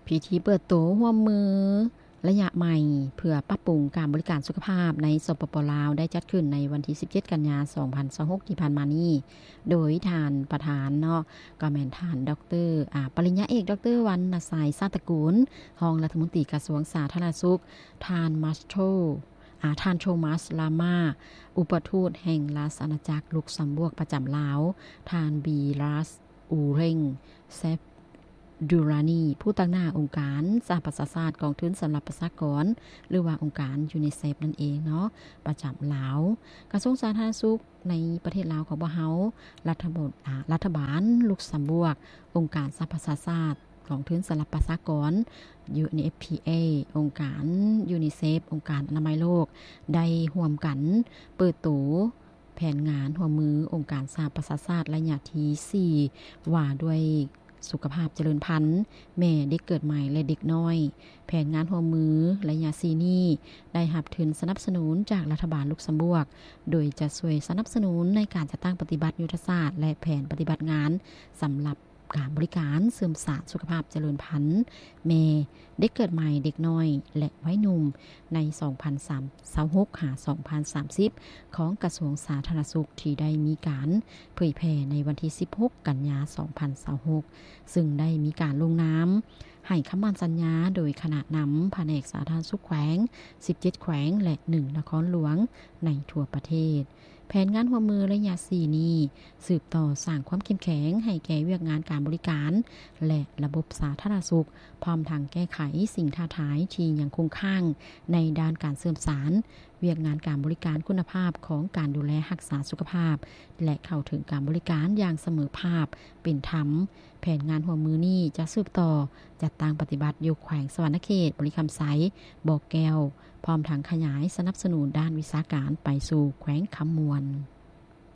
ພິທີເປີດໂຕຮ່ວມມືໄລຍະໃໝ່ ເພື່ອປັບປຸງການບໍລິການສຸຂະພາບໃນ ສປປ ລາວ ໄດ້ຈັດຂຶ້ນໃນວັນທີສິບເຈັດ ກັນຍາ ສອງພັນຊາວຫົກ ທີ່ຜ່ານມານີ້ ໂດຍທ່ານປະທານເນາະ ກໍແມ່ນທ່ານ ດຣ ອາ ປະລິນຍາເອກ ດຣ ວັນນະໄຊ ຊາດຕະກູນ ຮອງລັດຖະມົນຕີກະຊວງສາທາລະນະສຸກ, ທ່ານ ມາສໂທ ອາ ທ່ານ ໂທມັສ ລາມາ ອຸປະທູດແຫ່ງລາຊະອານາຈັກລຸກຊຳບວກປະຈຳລາວ, ທ່ານ ບີຣັສ ອູເຣັງ ເຊຟດູຣານີ ຜູ້ຕາງໜ້າອົງການສະຫະປະຊາຊາດກອງທຶນສຳລັບປະຊາກອນ ຫຼືວ່າອົງການຢູນິເຊຟນັ້ນເອງເນາະ ປະຈຳລາວ. ກະຊວງສາທາລະນະສຸກໃນປະເທດລາວຂອງພວກເຮົາ, ລັດຖະບົນ ອາ ລັດຖະບານລຸກຊຳບວກ, ອົງການສະຫະປະຊາຊາດ ກອງທຶນສຳລັບປະຊາກອນ ຢູເອັນເອັຟພີເອ, ອົງການຢູນິເຊຟ, ອົງການອະນາໄມໂລກ ໄດ້ຮ່ວມກັນເປີດໂຕແຜນງານຮ່ວມມືອົງການສະຫະປະຊາຊາດໄລຍະທີສີ່ ວ່າດ້ວຍສຸຂະພາບຈະເລີນພັນ, ແມ່, ເດັກເກີດໃໝ່ ແລະ ເດັກນ້ອຍ. ແຜນງານຮ່ວມມືໄລຍະສີ່ນີ້ ໄດ້ຮັບທຶນສະໜັບສະໜູນຈາກລັດຖະບານລຸກຊຳບວກ, ໂດຍຈະຊ່ວຍສະໜັບສະໜູນໃນການຈັດຕັ້ງປະຕິບັດຍຸດທະສາດ ແລະ ແຜນປະຕິບັດງານສຳລັບ ການບໍລິການເສີມສານສຸຂະພາບຈະເລີນພັນແມ່, ເດັກເກີດໃໝ່, ເດັກນ້ອຍ ແລະ ໄວໜຸ່ມ ໃນ ສອງພັນຊາວຫົກ ຫາ ສອງພັນສາມສິບ ຂອງກະຊວງສາທາລະນະສຸກ ທີ່ໄດ້ມີການເຜີຍແຜ່ໃນວັນທີສິບຫົກ ກັນຍາ ສອງພັນຊາວຫົກ ຊຶ່ງໄດ້ມີການລົງນາມໃຫ້ຄຳໝັ້ນສັນຍາໂດຍຄະນະນຳພະແນກສາທາລະນະສຸກແຂວງ ສິບເຈັດແຂວງ ແລະ ໜຶ່ງນະຄອນຫຼວງໃນທົ່ວປະເທດ. ແຜນງານຮ່ວມມືໄລຍະສີ່ນີ້ ສືບຕໍ່ສ້າງຄວາມເຂັ້ມແຂງໃຫ້ແກ່ວຽກງານການບໍລິການ ແລະ ລະບົບສາທາລະນະສຸກ, ພ້ອມທັງແກ້ໄຂສິ່ງທ້າທາຍທີ່ຍັງຄົງຄ້າງໃນດ້ານການເສີມສານວຽກງານການບໍລິການຄຸນນະພາບຂອງການດູແລຮັກສາສຸຂະພາບ ແລະ ເຂົ້າເຖິງການບໍລິການຢ່າງສະເໝີພາບ, ເປັນທຳ. ແຜນງານຮ່ວມມືນີ້ຈະສືບຕໍ່ຈັດຕັ້ງປະຕິບັດຢູ່ແຂວງສະຫວັນນະເຂດ, ບໍລິຄຳໄຊ, ບໍ່ແກ້ວ, ພ້ອມທັງຂະຫຍາຍສະໜັບສະໜູນດ້ານວິຊາການໄປສູ່ແຂວງຄຳມ່ວນ.